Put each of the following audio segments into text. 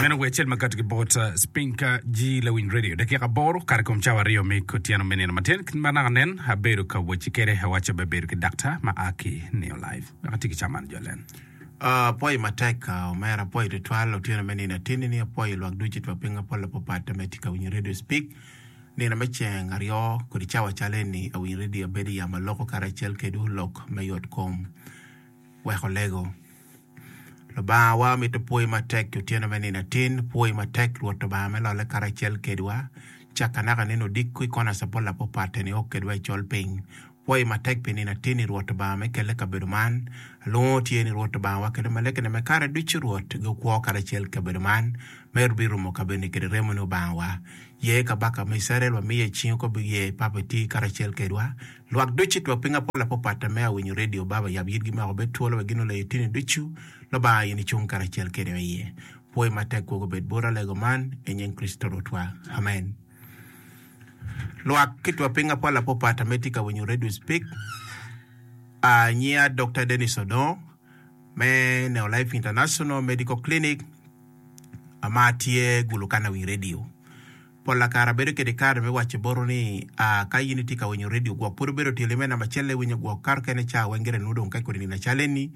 Meno wer acel ma kati ki bot Spinka G Lawiny Radio. Dakika aboro kare kom cawa aryo me otyeno me nino matin. Kit ma naka nen abedo ka wacci kede awacca abebedo ki daktar ma a ki Neo Life. Wek ati ki caman jo len. Apwoyo matek omera, apwoyo tutwal otyeno me nino atinni ni apwoyo lwak ducu itwa piny apol apapat me tye ka winyo Radio Speak nino me ceng aryo kodi cawa cal eni awinyo radio abedo i yamo aloko karacel kedwu lok me yot kom wek olego. Lubanga wa mito pwoyi matek i otyeno me nino atin, pwoyi matek Rwot Lubanga me lolle karacel kedwa caka naka nino odiko i kona capola apapat nio kedwa i col piny. Pwoyi matek pi nino atin i Rwot Lubanga me kelle kabedo man. Alwongo tye ni Rwot Lubanga wa kede malekene me kare ducu Rwot gukwo karacel kabedo man me birumo kabedoni kede remoni Obanga wa. Ye kabaka me Icrael wamiye i cingi ko biye papa iti karacel kedwa. Lwak ducu twak piny apol apopata me awinyo radio baba yab yitgi mako obed twolo wek gin oleyo tini ducu Lubanga in icung karacel kede wa iye. Pwoyi matek kwogo obed bota alego man i nying Kricito Rwotwa. Amen. Lwak ki twa piny apol apopata me tye ka winyo Radio Speak. A Nyia Dokta Dennis Odongo me Neo Life International Medical Clinic ma tye Gulu kan awiny radio. Pol kare abedo kede kare me waco botu ni a ka in itye ka winyo radio gwok pud obedo tyelo me namba celle iwinyo gwok kato kene ca weng gire nongo dong ka kodi nino acal eni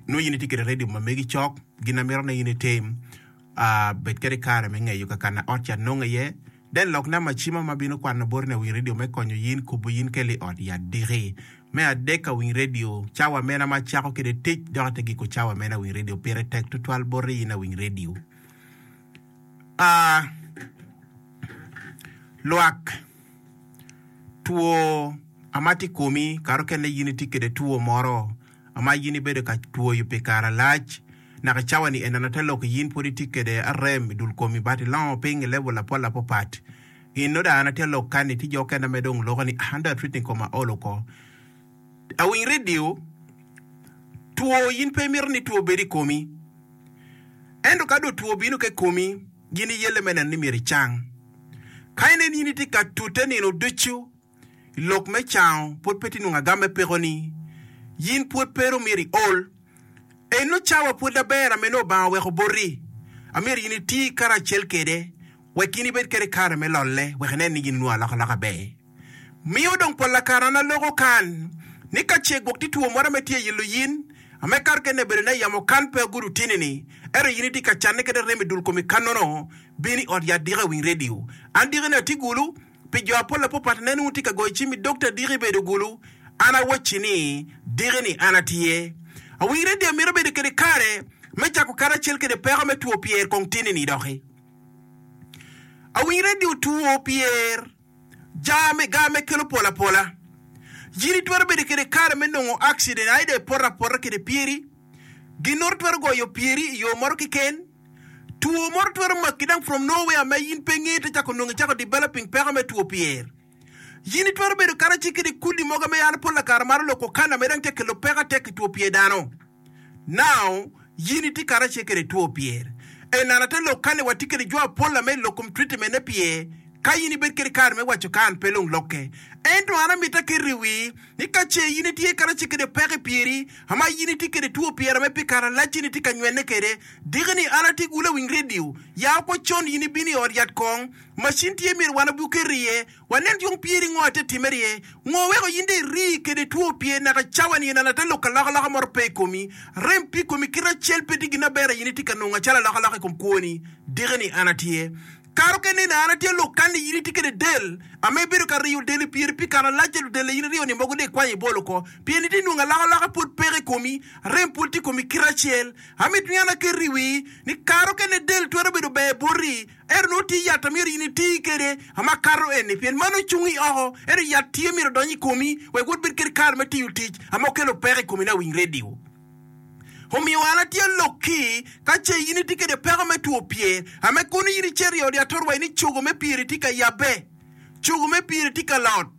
nongo in itye kede radio ma megi cok gin amito ni in itim a bed kede kare me ngeyo kakana ot cat nongo iye Then lok namba cima ma bino kwano boti ni awiny radio me konyo yin kubo yin keli i ot yat diki. Me adek awiny radio cawa mena ma acako kede tic dok ate giko cawa mena awiny radio pire tek tutwal boti yin awiny radio. A Lwak two ama tye ikomi kare okene yin itye kede two moro ma in ibedo ka twoyo pi kare alac, naka i cawa-ni eneno te lok in pwod itye kwede arem i dul komi but ilongo piny i level apol apapat. In nongo dong an atye lok kani tye jo okene ma dong loko ni ah an dong atreating koma aol oko. Awiny radio, two in pe imito ni two obed i komi ento ka dong two obino ka i komi in iyelle me neno ni myero icang. Ka inen in itye ka tute nino ducu I lok me cango, pwod pe tye nongo agam me pekoni. Yin pwod pe dong myero iol. Eno cawa pwod aber ame nongo Obanga oweko boti. Amyero yin iti karacel kede wek in ibed kede kare me lolle wek inen ni yin inwongo alokaloka aber. Miyo dong polla kare an aloko kan ni ka ce gwok tye two moro ame tye yilo yin, ame kare kene bedo ne yamo kan pe agudo tini ni, ento yin itye ka canne kede rem i dul komi kannono, bin i ot yat diki awiny radio. An diki ni atye gulu. Pi jo apol apopat nen wun tye ka goyo cim i dokta diki ibedo gulu, an awacci ni diki ni an atye. Awiny radio mito bedo kede kare me cako karacel kede peko me two pyer kong tini ni doki. Awiny radio two pyer ja me ga me kelo pol apola. Yin itwero bedo kede kare me nongo accident aida ipoto apota kede pyeri, ginoro twero goyo pyeri i yo moro kiken. Two moro twero maki dang from nowhere ma in pe ingeyo te cako nongo icako developing peko me two pyer. Yin itwero bedo karaci kede kudi mogo me an pola kare maro loko kana me dang te kelo peko atek i two pyer dano. Now yin itye karace kede two pyer. Enana te lok kani watye kede jo apola me lok kom treatment ne pyer ka yin ibed kede kare me waco kan pe long lokke. Ento an amita keto i wii ni ka ce yin itye karace kede peko i pyeri ama yin itye kede two pyer ame pi kare alac yin itye ka nywene kede Diki ni an atye gulu awiny redio, ya oko con in ibino i ot yat kong, macin tye myero wan obi oket iye, wanen yung pyeri ngo ate timere iye, ngo weko in dong iri kede two pyer naka cawa ni en an ate lok alokaloka moro pe i komi, rem pi komi kite acel pe tye gin aber in itye ka nongo acalo alokaloka i kom kwoni, diki ni an atye. Kare okene ni an atye lok kan ni in itye kede del, ame ibedo ka riyo del i pyeri pi kare alac ento del in iriyo ni mogo dong ikwanyo ibolo oko, pien itye nongo alokaloka pwod peke i komi, rem pwod tye i komi kite acel. Amito ni an aket i wii ni kare okene del twero bedo ber boti, ento nongo tye yat a myero in iti kwede makato eni, pien mano cung i oko, ento yat tye myero odony i komi wek wod bed kede kare me tiyo tic ma okelo peko i komi ni awiny redio. Omiyo an atye lokki, ka ce in itye kede peko me two pyer, ame kono in icito i od yat orwai ni cogo me pyeri tye ka yabbe, cogo me pyeri tye ka lot,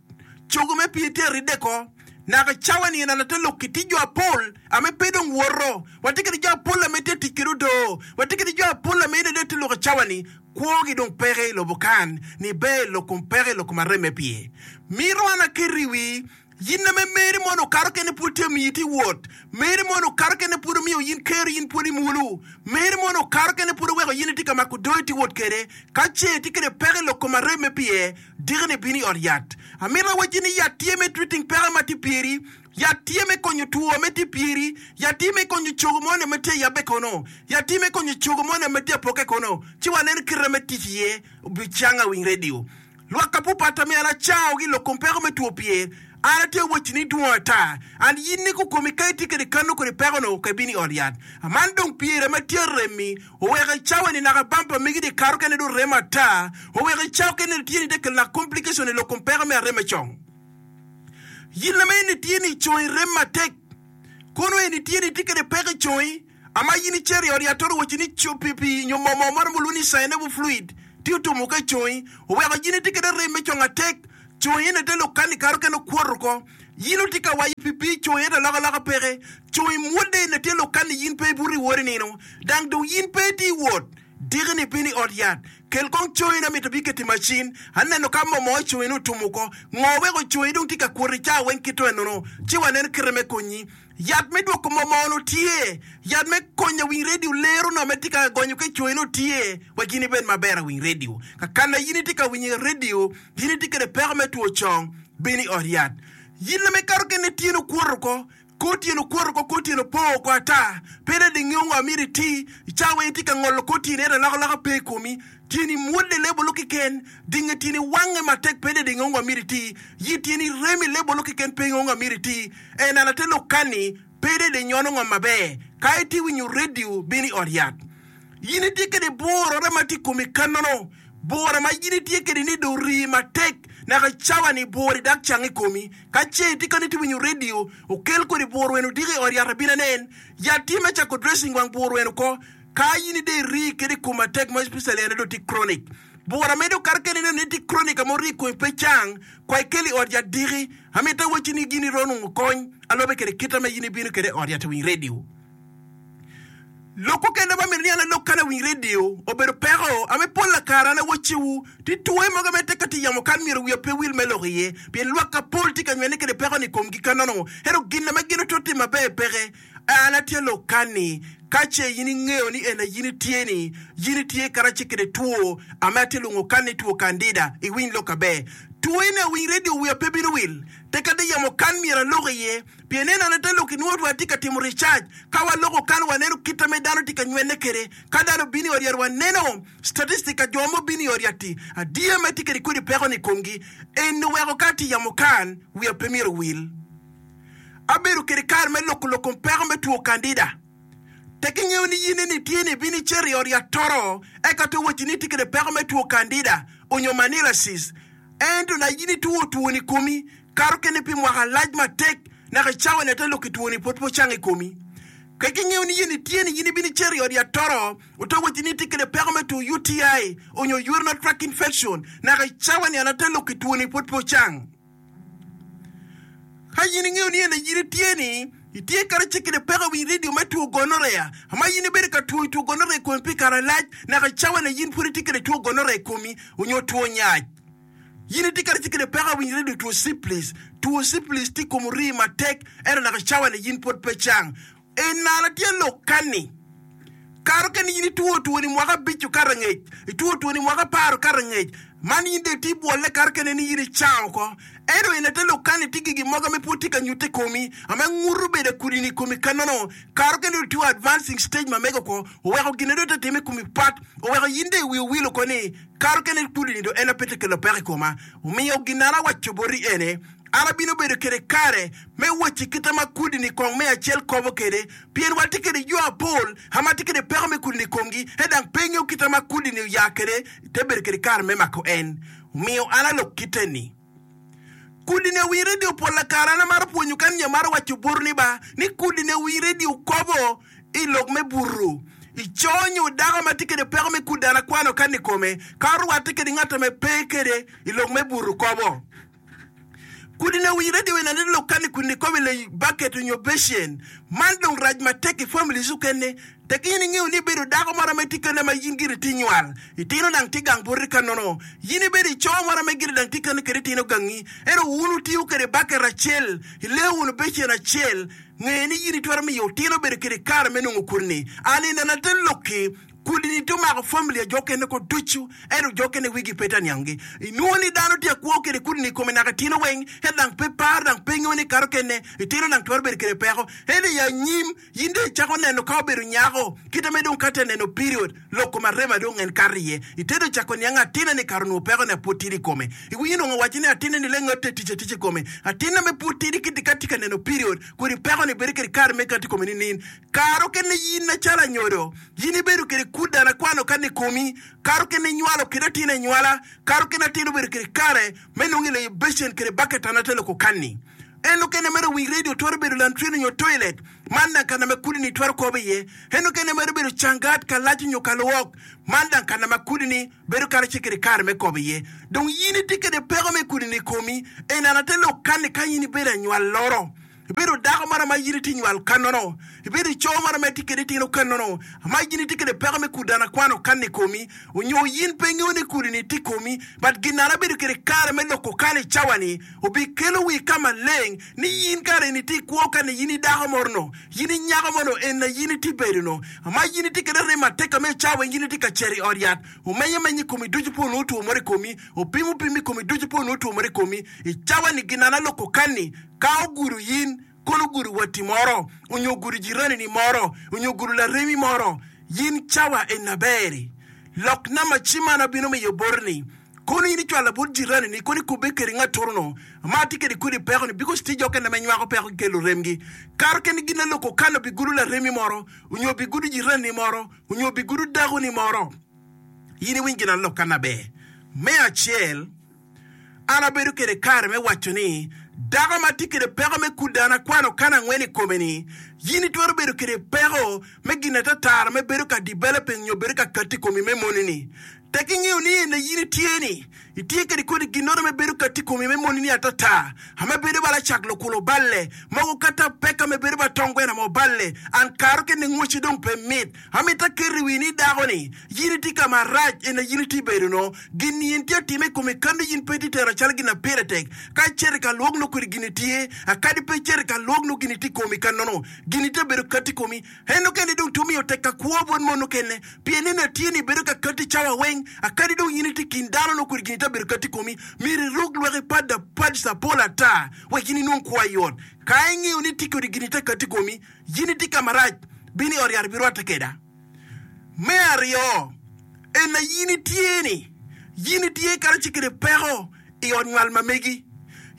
cogo me pyeri tye aridde ko. Naka cawa ni en ate lokki tye jo apol ame pe dong woto. Watye kede jo apol ame tye tic kede odoo. Watye kede jo apol ame ene dong tye loko cawa ni kwo gi dong peke i lobo kan ni ber i lok kom peke i lok kom arem me pye. Mito an aketo i wii yin ame meri mono okato kene pwod tye omiyi ti wot. Meri mono okato kene pwod omiyo yin kero yin pwod imulu. Meri mono okato kene pwod oweko. oweko in itye ka mako doo itye wot kwede. Ka ce itye kwede peko i lok kom arem me pyer, diki-ni bin i ot yat. Amito awacci ni yat tye me treating peko ma tye pyeri, yat tye me konyo two me tye pyeri, yat tye me konyo cogo moni ma tye ayabbe kono, yat tye me konyo cogo moni ma tye apokke kono. Ci waneno kite me tic iye obicanga winy radio. Lwak apupat ame an acangogi i lok kom peko me two pyer, an atye wacci ni dwong ata. An in ni kukomi ka itye kede kano kodi peko-nu ka ibino i ot yat. Aman dong pyeri ame tye aremmi oweko i cawa ni naka bampa megi di kato kene dong remo ata, oweko i cawa kene tye ni te kelo naka complication i lok kom peko me arem me cong. Yin ame in itye ni congi rem matek, kono en itye ni itye kede peko i congi, Ama in icito i ot yat to owacci ni co pi pi nyo moo moo moro mulwongo ni synovial fluid tye otumo ka i congi oweko in itye kede rem me cong atek congi ene te lok kani kato kene okwoto oko in otye ka wayo pi pi congi ento alokaloka peke congi mwodde ene tye lok kani in pe ibuto iwot inino dang dong in pe itye iwot diki ni piny i ot yat kel kong congi na mito biketi macin aneno ka moo moo i congi ni otumo oko ngo weko congi dong tye ka kwoto i cawa weng kito enono ci waneno kite me konyi Yat me dwoko momono tye. Yat me konyo awiny redio lero no me tye ka gonyo ki coyi no tye wek in ibed maber awiny redio. Kakana in itye ka winyo i redio, in itye kede peko me two cong, bin i ot yat. Yin me kato kene tyeni okwoto oko, kor tyeni okwoto oko, kor tyeni opong oko ata. Pe dong ingeyo ngo myero iti. I cawa weng itye ka ngolo kor tyeni ento alokaloka pe i komi. Tyeni mwodde lebolo keken, dinge tyeni wange matek pe dong ingeyo ngo myero iti. Yi tyeni remi lebolo keken pe ingeyo ngo myero iti. En an ate lok kani, pe dede inyono ngom maber. Ka itye winyo redio, bin i ot yat. Yin itye kede burore ma tye i komi kanono. Bura ma yin itye kede ni dong rii matek naka cawa ni bur-ri dak cang i komi. Ka ce itye kano itye winyo redio, okel kodi bur weno odiko i ot yat abin anen. Yat tye me cako dressing wang bur weno oko. Ka yin ide irii kede i kom matek ma especially en dong tye chronic. Bura medo kato kene ineno ni tye chronic ma orii i komi pe cang, kwa ikel i ot yat diki. Amito awacci ni gin iromo nongo kony alobe kede kita ma in ibino kede i ot yat awiny radio. Lok okene ma amito ni an alok kan awiny radio obedo peko ame pol lakare an awacciwu ti twoye mogo me teka ti yamo kan myero wiya pe wil me lok iye pien lwak kapol tye ka nywene kede peko ni komgi kanono ento gin ame gin oto timo maber peke. An atye lok kan-ni, ka ce in ingeyo ni en aye in itye-ni, in itye karace kede two ame atye lwongo kan ni two kandida, iwiny lok aber. Two-ni awiny redio wiya pe bino wil, tek ade yamo kan myero alok iye, pien en an ate lok inwongo wa atye ka timo ricac. Ka waloko kan waneno kit ame dano tye ka nywene kede. Ka dano obino i ot yat waneno statistic ka jo ma obino i ot yat-ti adiya ma tye kede kodi peko-ni i komgi. Eni oweko ka atye yamo kan, wiya pe myero owil. Abedo kede kare me loko lok kom peko me two kandida. Tek ingeyo ni yin eni itye ni ibino icito i ot yat toro eka to wacci ni itye kede peko me two kandida onyo manilasis. Ento na yin itwo two ni komi kato kene pi mwaka lac matek naka i cawa ni ate lok ki two ni pwod pe ocang i komi. Tek ingeyo ni yin itye ni yin ibino icito i ot yat toro oto wacci ni itye kede peko me two UTI onyo urinary tract infection naka i cawa ni an ate lok ki two ni pwod pe ocang. Ka in ingeyo ni en aye in itye ni itye kadi kede peko i wi redio me two gonorrhea, ma in ibedo ka twoyo two gonorrhea i komi pi kare malac, naka i cawa ni in pud itye kede two gonorrhea i komi onyo two nyac. In itye kadi kede peko i wi redio two syphilis, two syphilis tye i kom orii matek ento naka i cawa ni in pwod pe cang. Enana tye lok kani, Kato keni in itwo twoni mwaka abic okato angec, itwo twoni mwaka apar okato angec, man in dong itye bwolle kato kene ni in icang oko. Ento ena te lok kani tye gigi mogo ame pwod tye ka nyutte i komi, ame nguto bedo akudini i komi kanono. Kato kene dong itye advancing stage ma mege oko, oweko gine dong te time i komi pat, oweko in dong iwi owil oko ni kato kene kudini dong en ape te kelo peko i koma. Omiyo gin an awaco boti ene, An abino bedo kede kare me wacci kita ma kudini kong me acel kobo kede, pien watye kede jo apol ma tye kede peko me kudini i komgi, ento dang pe ngeyo kita ma kudini oya kede, te bedo kede kare me mako en. Omiyo an alok kite ni, Kudini owiny redio pol lakare an amaro pwonyo kan nyo amaro waco botu ni ba, ni kudini owiny redio kobo i lok me butu. I co nyo dako ma tye kede peko me kudi an akwano kan i kome, ka orwatte kede ngat ame pe kede i lok me butu kobo. Kudini owinyo radio eni aneno lok kani kudini kobo i lei bucket onyo becen. Man dong rac matek i families okene. Tek in ingeyo ni ibedo dako moro ma itye kene ma in gire tye nywal. Itino dang tye gang boti ka nono. In ibedo ico moro ma gire dang tye kene kede itino gangi. Ento wun wutiyo kede bucket acel, ileyo wunu becen acel. Nge ni in itwero miyo otino bedo kede kare me nongo kudini. An inena te lokki. Kudi-ni tye omako famili a jo okene ko ducu, ento jo okene wigi pe tye aniangi. Inwongo ni dano tye akwo kede kudi-ni i kome naka tino weng, ento dang pe paro dang pe ngeyo ni kare okene itino dang twero bedo kede peko. Ento i anyim, in dong icako neno ka obedo nyako, kite me dong ka tye neno period, lok kom arem a dong en kato iye. Itedo cako niang atinne ni kare onongo peko-ni a pud tidi i kome. Iwinyo nongo owaco ni atinne ni lengatte tic atica i kome. Atinne me pud tidi kiti ka tye ka neno period, kodi peko-ni bedo kede kare me kato i kome ninin? Kare okene in macalo anyodo, in ibedo kede kut dano akwano ka ni komi, kare okene inywalo kede atin anywala, kare okene atin obedo kede kare me nongo i leyo becen kede baket an ate loko kanni. En okene mere wii radio twero bedo lantrin onyo toilet, man dang kana ma kudi ni twero kobo iye. En okene mere bedo cangat, kalac onyo kalwok, man dang kana ma kudi ni bedo karacel kede kare me kobo iye. Dong in itye kede peko me kudi ni i komi, en an ate lok kanni ka in ibedo anywal loro. Ibedo dako mara ma in itye nywal kannono. Ibedo ico mara ma itye kede itino kannono. Ma in itye kede peko me kudana akwano kan i komi, onyo in pe ingeyo ni kudi ni tye i komi, but ginana bedo kede kare me loko kan i cawa ni obi kelo wi ka maleng ni in kare ni itye ikwo kan ni in i dako moro no, in i nyako mo no en na in itye bedo no. Ma in itye kede rem atek me cawa in itye ka cito i ot yat, omenyo meny i komi ducu pe onongo two moro i komi, opimo pim i komi ducu pe onongo two moro i komi. I cawa ni ginana loko kan ni Ka ogudo in, kono ogudo watti moro, onyo ogudo jiranini moro, onyo ogudo laremi moro, in cawa eni aber-ri. Lok namba cim man abino miyo boti-ni, kono in icwalo bot jiranini, kono ikubbe kede ngatoro-nu ma tye kede kodi peko-ni, bikos tye jo okene ma nywako peko ki luremgi. Kare kene gin aloko kano bigudo laremi moro, onyo bigudo jiranini moro, onyo bigudo dakoni moro. In iwiny gin alokka aber. Me acel. An abedo kwede kare me waco ni, Dako ma tye kwede peko me kudana akwano kan angwen i kome-ni, in itwero bedo kwede peko me gin atatara me bedo ka developing nyo bedo ka katti i komi me moni-ni. Tek ingeyo ni ene in itye-ni, itye kwede kodi ginnoro me bedo katti i komi me moni-ni atata, ame bedo bala cak lukulo balle, mogo kata peka me bedo ba tong gweno mo balle, an karo kene ngweci dong pe mit. Amito aket i wi ni dako-ni, in itye ka marac, ena in itye bedo no. Gin-ni en tye atime i kome kadi in pe itye tero calo gin ma pire tek. Ka icito i ka lwok nongo kodi gin-ni tye, akadi pe icito i ka lwok nongo gin-ni tye i komi ka nono. Gin-ni tye bedo kati i komi. En okene dong tye omiyo tek ka kwo bot mon okene, pien ena tye ni bedo ka kati cawa weng, akadi dong in itye i kin dano nongo kodi gin-ni tye bedo kati i komi. Myero iruk lwaki pada pads apol ata wek in inong kwo ayot. Ka ingeyo ni tye kodi gin-ni tye kati i komi, In itye ka marac, bin i ot yat ibirwatte keda. Me aryo, en aye in itye-ni, in itye kadi kede peko i ot nywal ma megi.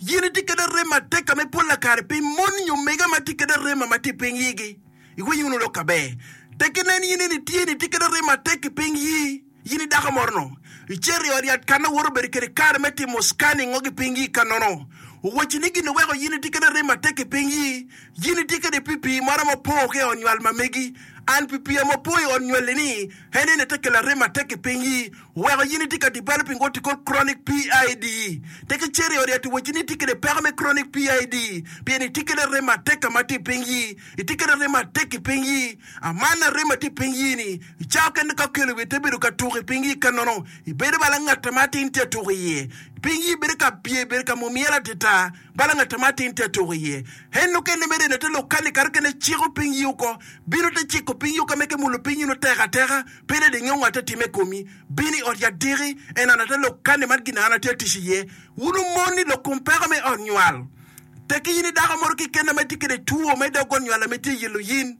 In itye kede arem matek ka me polla kare pi mon nyo mege ma tye kede arem ma tye i piny yigi. Iwinyo wunu lok aber. Tek inen in eni itye-ni itye kede arem matek i piny yi. In i dako moro-nu, icito i ot yat ka ma woto obedo kwede kare me timo scanning ngo ki piny yi ka nono. Owacci ni gin oweko in itye kede arem matek i piny yi, in itye kede pi pii moro ma opong ki i ot nywal ma megi. An pi pii ma opong i ot nywali ni, en ene te kelo arem matek i piny yi. Oweko in itye ka developing what you call chronic PID. Tek icito i ot yat owacci ni itye kede peko me chronic PID pien itye kede arem matek ka ma tye i piny yi. Itye kede arem matek i piny yi. Aman arem ma tye i piny yi ni, I cawa kene ka okelo wiye te bedo ka tuko i piny yi ka nono ibedo bala ngat ma atin tye atuko iye. Piny yi bedo ka pye bedo ka mumyel atita bala ngat ma atin tye atuko iye. En okene mere ene te lok kani kare kene ciko piny yi oko. Bino te ciko piny yi oko meke mulo piny yi no tek ateka pe de dinge ngat atime komi. Bino i ot yat diki en an ate lok kani man gin an atye atic iye. Wun omon ni lok kom peko me ot nywal. Teki in i dako moro keken ma itye kede two me dog ot nywal ame tye yelo yin.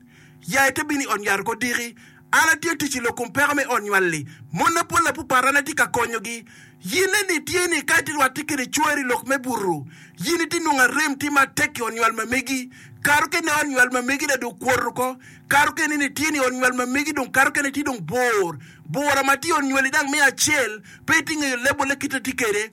Ya ite bino i ot nywal oko diki. An atye tic i lok kom peko me ot nywal-li. Monna pol apupat an atye ka konyogi. Yinne ni tye ni ka itye rwatte kede cwari i lok me buto, yin itye nongo arem tye matek i ot nywal ma megi. Kare okene ot nywal ma megi dong okwoto oko. Kare okene ni tye ni ot nywal ma megi dong kare okene tye dong bor. Bora ma tye i ot nywali dang me acel pe itye ngeyo lebole kite tye kede.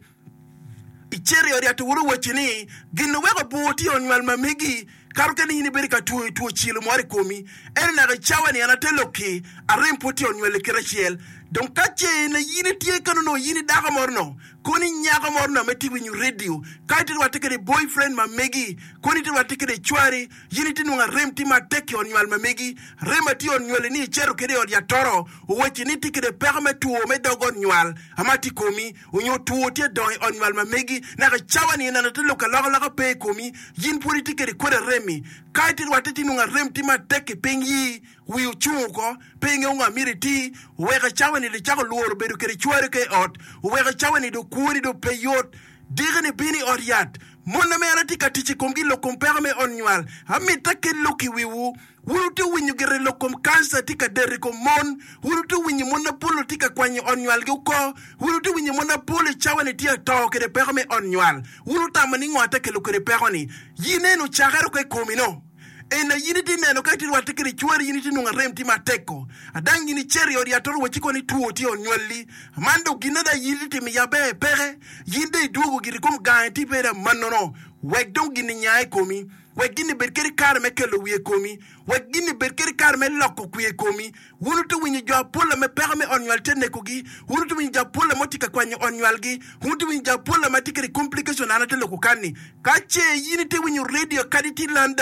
Icito i ot yat oworo owacci ni, Gin oweko bur tye i ot nywal ma megi, kato kene in ibedo ka twoyo two cilo moro i komi. Ento naka i cawa-ni an ate lok-ki, arem pud tye i ot nywal i kite acel. Dong ka ce in itye kene onongo in i dako moro no, kono i nyako moro no ma itye winyo redio, ka itye rwatte kede boyfriend ma megi, kono itye rwatte kede cwari, in itye nongo arem tye matek i ot nywal ma megi. Arem ma tye i ot nywali ni icito kede i ot yat toro, owacci ni itye kede peko me two me dog ot nywal ma tye i komi. Onyo two tye dongo i ot nywal ma megi, naka i cawa ni ineno te lok alokaloka pe i komi, yin pwod itye kede kodi arem-mi. Ka itye rwatte ci inongo arem tye matek i piny yi. Wi ocung oko, pe ingeyo ngo amyero iti. Oweko i cawa-ni dong icako lworo bedo kede cwari ka i ot. Oweko i cawa-ni dong kwoni dong pe yot. Diki-ni bino i ot yat. Mon ame an atye ka tic i komgi i lok kom peko me ot nywal, amito akel lok i wiwu. Wun wutye winyo gire lok kom kanca tye ka deto i kom mon. Wun wutye winyo mon mapol tye ka kwanyo ot nywalgi oko. Wun wutye winyo mon mapol i cawa-ni tye ato kede peko me ot nywal. Wun wutamo ni ngo ate kelo kede peko-ni? In eno cakere oko i komi-no. Ena in itye neno ka itye rwatte kede cwari in itye nongo arem tye matek-ko. Adang in icito i ot yat oro wacci kono ni two tye i ot nywalli. Man dong gin ada in itye timo i yabbe peke. In dong idwogo giri kom gang itye bedo amannono. Wek dong gin-ni nya i komi. Wek gin-ni bed kede kare me kelo wiye i komi. Wek gin-ni bed kede kare me loko kwiye i komi. Wun wutye winyo jo apol ame peko me ot nywal tye nekogi. Wun wutye winyo jo apol ame otye ka kwanyo ot nywalgi. Wun wutye winyo jo apol ame tye kede complication an atye loko kan-ni. Ka ce in itye winyo radio kadi itye i London.